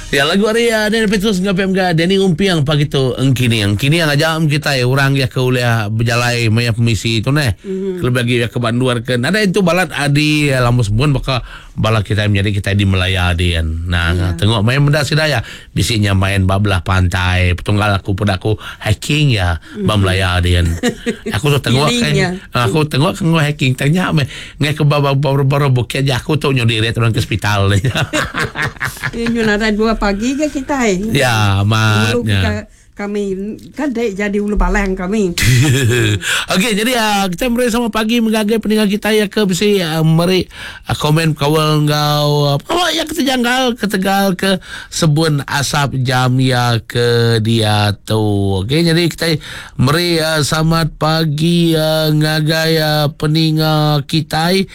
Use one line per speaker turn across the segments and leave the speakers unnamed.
Ya lagu ari uh, Daniel Petrus enggau PMG Danny Umpiang pagi tu engkini. Engkini yang aja kitai orang ya ke ulih bejalai maya pemisi tu neh. Mm-hmm. Kelebih lagi ya ke banduar ke nadai tu balat adi eh, lama sebun baka bala kitai menyadi kitai di Melaya din. Nah, yeah. tengok main meda sida ya bisi nya main ba belah pantai petunggal aku peda aku hiking ya mm-hmm. ba Melaya din. Aku tu tengok kan aku tengok ke hiking tanya meh Ngai ke ba baru bukit ja aku tu nyu dirit orang ke hospital ni.
Nyu nadai dua pagi ke kitai.
Ya, amat.
Ulu kami kan dek jadi ulu balang kami.
Okey, jadi uh, kita meri sama pagi mengagai pendengar kita ya ke bisi uh, meri uh, komen kawal enggau uh, uh, ya kita janggal ketegal ke sebun asap jam ya ke dia tu. Okey, jadi kita Meri selamat pagi ngagai peninga kitai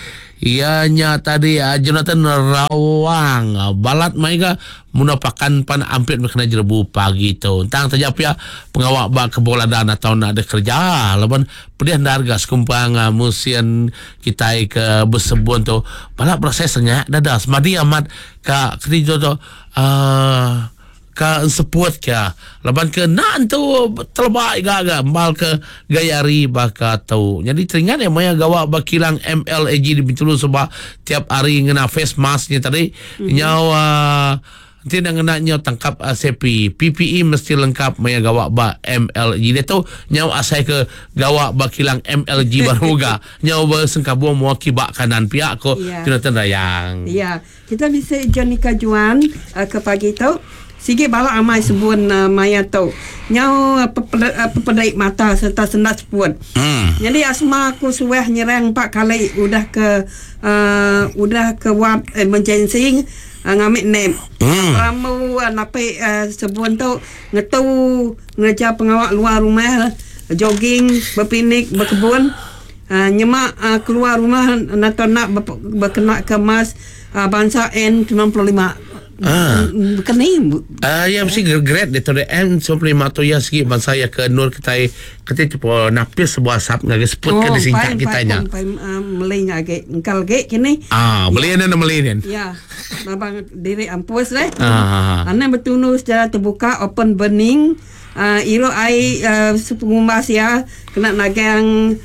iya nya tadi Jonathan Rawang balat mai ga muna pakan pan ampit meh kena jerebu pagi tu. Tang taja pia pengawa ba kebun ladang atau enda deh kereja laban pedih endar ga sekumpang musin kitai ke besebun tu balat berasai sengak dada semadi amat ka keni tu tu uhh Ka enseput ka laban ke enda entu teleba iga ga embal ke gaya hari baka tu. Nyadi teringat iya maya gawa ba kilang MLAG di Bintulu suba tiap hari ngena face mask nya tadi nyau uhh enti enda ngena nyau tangkap sepi. PPE mesti lengkap maya gawa ba MLG. Diatu nyau asai ke gawa ba kilang MLG baru ga nyau besengkabung mua kiba kanan pia ko Jonathan Rayang.
Iya. Kita bisi Jonica Juan ke pagi tu. Sigi bala amai sebun maya tu. Nyau pepedai mata sereta sendat seput. Nyadi asma aku suah nyerang empat kali udah ke udah ke ward emergency ngambi nap. Perambu napi sebun tu ngetu ngereja pengawa luar rumah, jogging, bepinik, bekebun. Nyema keluar rumah enda enda bekenaka mask bansa N 95. Baka ni?
Iya mesti grade ditu deh N 95 tu iya sigi bansa iya ke endur kitai keti tipo napis sebuah asap ngagai seput ke disingka kitai nya.
Oh empai meli nya agi engkal agi kini.
Ah beli nya meli nya.
Ya babang diri ampus deh. Anang betunu secara terbuka open burning. Irup ai sepengumbas iya kena nagang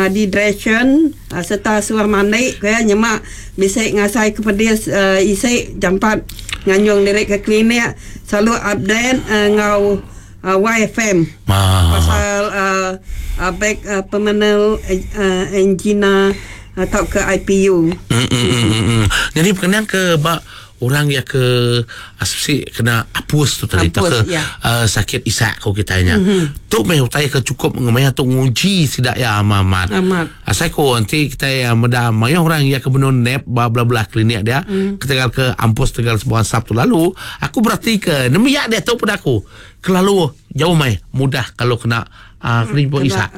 dehydration sereta suah mandi ku iya nyema bisi ngasai ke pedis isi jampat nganjung diri ke klinik selalu update enggau YFM pasal beg permanent angina tauka IPU.
Nyadi pengenang ke ba Orang iya ke bisi kena apus tu tadi tauka ya. uh, sakit isak ko kitai nya. Mm-hmm. Tu meh utai ke cukup ngemaya tu nguji sida ya amat.
Amat.
Asai ko enti kitai uh, meda mayuh orang iya ke benung nap ba belah-belah klinik dia mm. ketegal ke ampus tegal sebuah asap tu lalu aku berati ke nembiak dia tu peda aku kelalu jauh mai mudah kalau kena Ah, kena jumpa isak.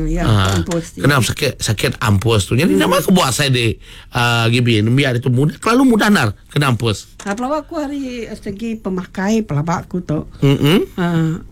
Ya,
Ah,
ampus.
kena sakit sakit ampus tu. Jadi nama aku buat saya di uh, gibi nembiak itu mudah kelalu mudah nar kena ampus.
Ha, pelaba aku ari segi pemakai pelaba aku tu.
Mm
Ah,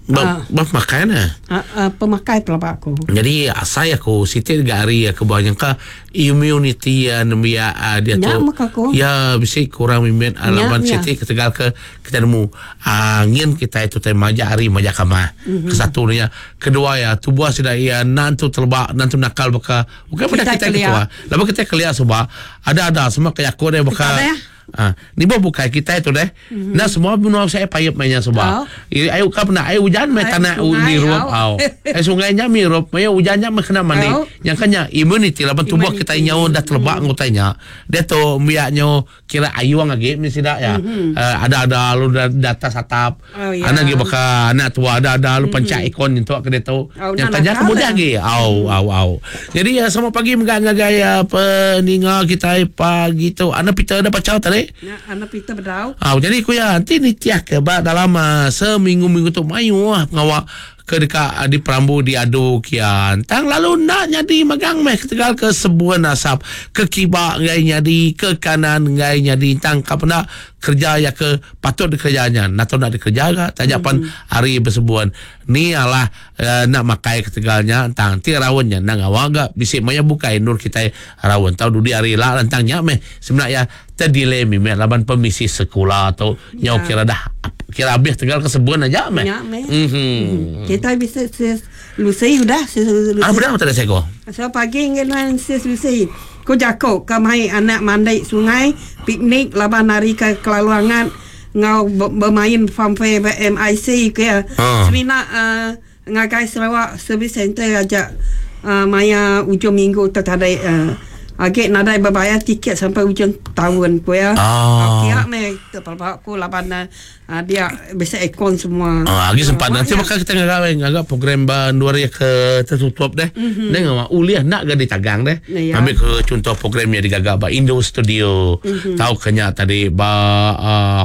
Ba, ba pemakai nah.
ah, ah, pemakai pelaba aku.
Jadi asai aku siti ga ari aku bah nyangka immunity uh, nembiak uh, dia
Nya
tu.
meh aku.
Ya bisi kurang mimit uh,
Nya,
laban
nya.
siti ketegal ke Kitai nemu angin kitai tu tai majak hari majak kamah. Mm-hmm. Kesatu nya, kedua iya tubuh sida iya enda entu teleba, enda entu nakal baka bukan peda kitai ketua. Laban kitai kelia suba ada-ada semua ke jaku deh baka Ha, ni bah bukai kitai tu deh. Mm-hmm. Nah semua menua saya payep mainnya suba. Oh. Ayo ka pernah air hujan mai tanah mirup au. Air sungai nya mirup, mai hujan nya kena mandi. Oh. Yang kanya immunity laban tubuh kitai nyau dah teleba mm-hmm. ngutai nya. Dia tu biak nyu Kira ayung agi mih sida iya. Ada-ada lalu di atas atap. Anak agi baka anak tua ada-ada lalu panchak ikon nyentuk ke ditu. Nya taja ke mudah agi. Au au au. Jadi selamat pagi mega ngagai peninga kitai pagi tu. Anak Peter enda pachau tadi?
Anak Peter bedau.
Au jadi ku iya enti nitihka ba dalam seminggu-minggu tu mayuh pengawa. ke deka diperambu diadu kia. Tang lalu enda nyadi magang meh ketegal ke sebun asap ke kiba enggai nyadi, ke kanan enggai nyadi tang ka penda kereja iya ke patut dikereja nya enda tau enda dikereja ga taja pan hari besebun. Ni alah enda makai ketegal nya tang ti raun nya enda ngawa ga bisi maya bukai endur kitai raun tau dudi hari ila lantang nya meh semina iya terdelay mimit laban pemisi sekula tu nyau kira dah kira abih tegal ke sebun aja meh.
Nya meh. Mhm. Kitai bisi sis Lucy udah sis Lucy.
Ah udah tadi seko.
So pagi ngi nuan sis Lucy. Ku jaku ke mai anak mandi sungai piknik laban hari ke kelalu angat enggau bemain funfair ba MIC ku iya. Semina uhh Ngagai Sarawak Service Centre aja maya ujung minggu tu tadi agi nadai bebayar tiket sampai ujung taun ku iya. Kia meh pelaba ku laban dia bisi aircon semua.
Agi sempat nanti baka kita ngaga ngaga program ba endur iya ke tertutup deh. Neh ngawa ulih enda ga ditagang deh. Ambi ke chunto program iya digaga ba Indo Studio tauka nya tadi ba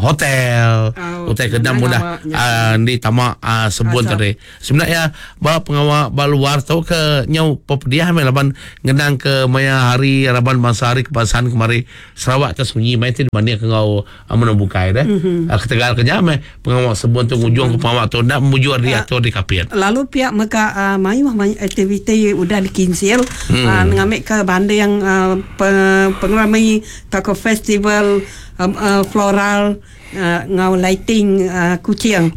hotel. Utai ke enda mudah endi tama sebun tadi. Semina iya ba pengawa ba luar tu ke nyau pepediah meh laban ngenang ke maya hari raban bansa hari kebangsaan kemari Sarawak te sunyi meh ti dibanding ke enggau menua bukai deh. Ketegal ke nya meh pengawa sebun tu ngujung ke pengawa tu enda mujur diatur di Kapit.
Lalu pia mega mayuh aktiviti udah dikinsil ngambika banding pengerami tauka festival floral Enggau lighting kuching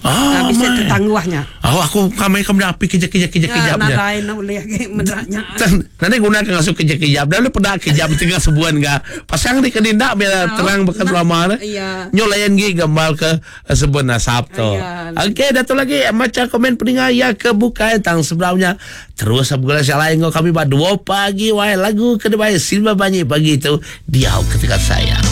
bisi tetangguh nya.
Oh aku kami ke meda api kejap-kejap kejap-kejap
nya. Nadai enda ulih agi meda nya.
Nadai guna ke ngasuh kejap-kejap dah lalu peda kejap tengah sebuan ga. Pasang di ke dinda biar terang baka selama ne. Nyu layan gi gambar ke sebun asap tu. Okey dah tu lagi macha komen peninga iya ke bukai tang sebedau nya terus begulai salai enggau kami ba dua pagi wai lagu ke dibai Silva Banyi pagi tu diau ketegal sayang.